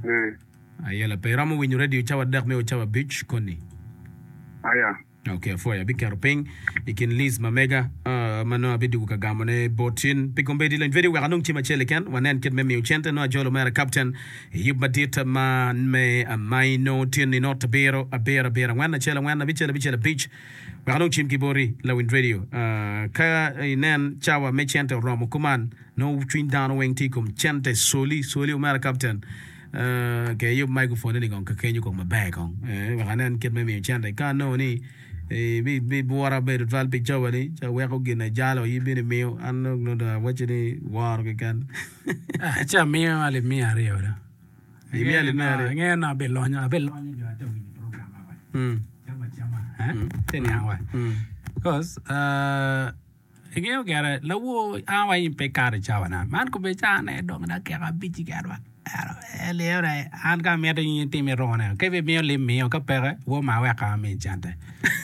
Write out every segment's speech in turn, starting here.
Eh. Ayela pe iromo winyo radio cawa adek me o cawa abic koni. Aya. Ok, apwoyo. Abiketo piny i kin list ma mega ma nongo abidwogo ka gamo ne bot in. Pi kombeddi lony vedio wek anong cim acel keken wanen kit me miyo cente nongo ajolo omera Captain i yub madit ma me amaino tyen-ni not abiro abiro abiro angwen acel angwen abicel abicel abic wek anong cim ki boti lawiny radio. Ka inen cawa me cente oromo kuman Nongo cwiny dano weng tye i kom cente soli soli omera kapten ke iyub microphone ni kong kakenyo kong maber kong wek anen kit me miyo cente ka anongo ni bibwura bedo twal pi cawa ni ca weko gin ajalo in bino imiyo an nongo dong awacci ni woro keken. Ci amiyo alip miya aryo do. Imiyo alip miya aryo? Angeyo ni abilonyo abilonyo jo ate winyo program wa. Cam acama te niang wa. Because Ingeyo gire, lawor an wa in pe ikato i cawa-na. Man kobedi cawa-ne dong dakika abic keken wa. Ento an ka amito in itim irone, ka ibimiyo lim miyo, ka peke, woo ma wek an ami cente.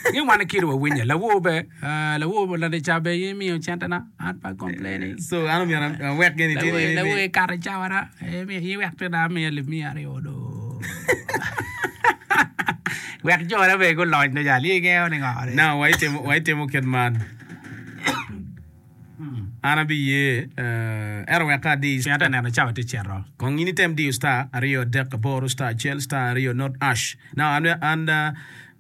Ingeyo wan kit wa winye, lawor be, lawor ladi ca be in imiyo centena, an pe a complaining. So an omyero awek gini tye ni. Lawor ikato i cawa-na, in wek tina amiyo alip miya aryo do. Wek jone bene gulony do jal, in ingeyo ni ngo. Now waitimo kit man. An abiye, ento wek ka adi. Pien ate neno cawa tye cito. Kong in item diyo star aryo adek aboro star acel star aryo not ash. Now an an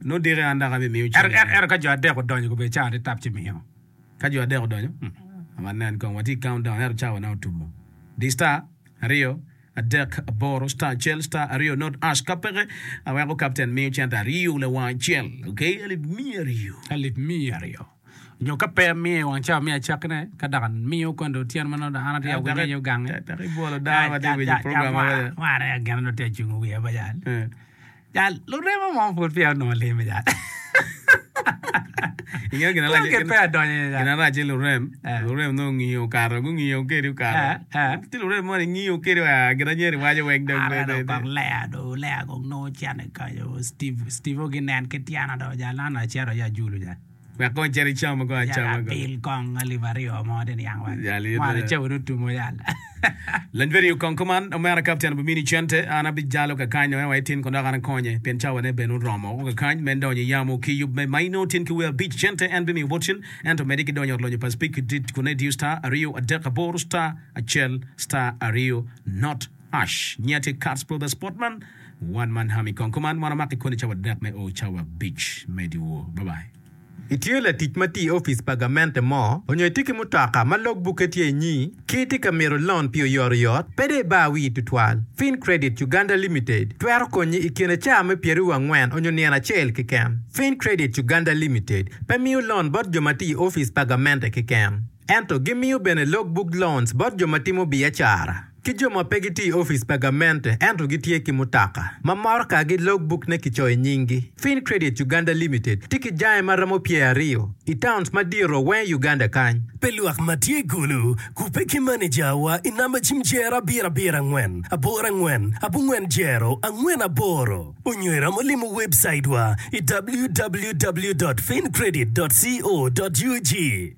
nongo diki an dok abimiyo cente. Ento ka jo adek odonyo gubedo cawa tye tap ci miyo. Ka jo adek odonyo? Wanen kong watye i count down ento cawa na otumo. Di star aryo adek aboro star acel star aryo not ash. Ka peke aweko captain miyo cente aryo lawang acel. Okay alip miya aryo. Alip miya aryo. Nyo ka pe amiyo i wang cawa me acakkine, ka dok amiyo kono dong otyeno ma nongo dong an atye ka winyo aye ogange. Dok ibwolo dano ma tye ka winyo program ma mega. Mara aye gin nongo tye ka cungo wiya ba jal. Jal, lurema mo pud peya onongo lim jal. Ingeyo gin Kong gin peya odonyo iye jal. Gin arac ci lurem, lurem nongo ngiyo okato, gungiyo kedi okato. Tye lurem mo ni ngiyo kedi wa gin anyeri waco weng dong. Ara dong kong lea do, lea kong nongo cene kanyo, Steve, Steve ginen ki tyena do jal, an acito aye ajulu jal. Wek kong icit icam kong Yal acama kong. abil kong alip aryo mo te niang wa. Yal in Mwana bene. cawa dong otumo yal. Lany video kong kuman omera kapten obimini cente an abijalo kakany en wa itin kong dok an akonye pien cawa ne bene oromo woko kakany me donyo i yamo ki yub me ma inongo tin ki wer abic cente en bimiyo bot cen ento medi ki donyo i ot lonyo pa speak dit kun idiyo star aryo adek aboro star acel star aryo not hash nyiya tye Katz Brothers Sportman One man army kong kuman wan wamako i koni cawa adek me o cawa abic me dyewor bye bye. Itye latic ma tye i opic pa gamente mo, onyo itye ki mutoka ma log bukke tye inyi, ki itye ka mito lon pi oyotoyot, pe dong ibar wii tutwal. Fincredit Uganda Limited twero konyi i kine caa me pyeraryo angwen onyo nino acel keken. Fincredit Uganda Limited pe miyo lon bot jo ma tye i opic pa gamente keken, ento gimiyo bene log book loans bot jo ma timo biacara. Ki jo ma pe gitye i opic pa gamente ento gitye ki mutoka ma motokagi logbuk-ne kicoyo i nyinggi. Fincredit Uganda Limited tye ki jange ma romo pyeraryo i towns madito weng i Uganda kany. Pi lwak ma tye i Gulu, kubbe ki manejawa i namba cim jero abiro abiro angwen aboro angwen abongwen jero angwen aboro onyo iromo limo webcaitwa i www dot fincredit dot co dot ug.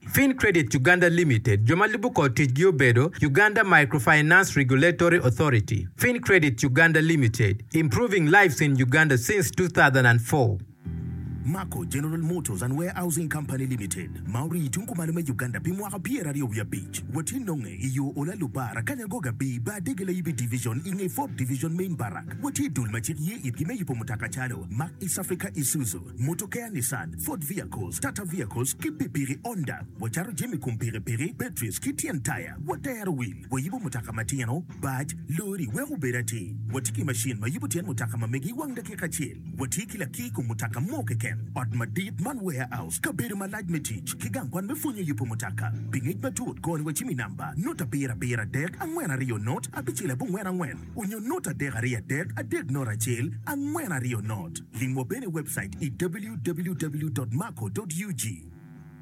Fincredit Uganda Limited, jo ma lubo kor ticgi obedo, Uganda Microfinance Regulatory Authority, Fincredit Uganda Limited, Improving lives in Uganda since 2004. Mako General Motors and Warehousing Company Limited, ma orii tung kumalo me Uganda pi mwaka pyeraryo wiye abic. Watye nonge i yo Ola Lubar, Akanyagoga B, Bar Dege Layibi Division i nge Fourth Division Main Barrack. Watye i dul ma cik ye itgi me yubo mutoka calo Mack East Africa Isuzu, Motokea Nissan, Ford Vehicles, Tata Vehicles ki pikipiki Honda. Wacato jami kom pikipiki, batteries ki tyen taya. Watero wil, wayubo mutoka matino, bac, lori wek obed atir. Watye ki macin ma yubo tyen mutoka ma megi i wang dakika acel. Watye ki lakir kom mutoka mo keken, ot madit man warehouse, kabedo malac me tic, ki gang kwan me pwonyo yubo mutoka. Pi ngec matut, gony wa cim i namba, not abiro abiro adek angwen aryo not abicel abongwen angwen onyo not adek aryo adek adek not acel angwen aryo not. Limwa bene i webcait i www.maco.ug.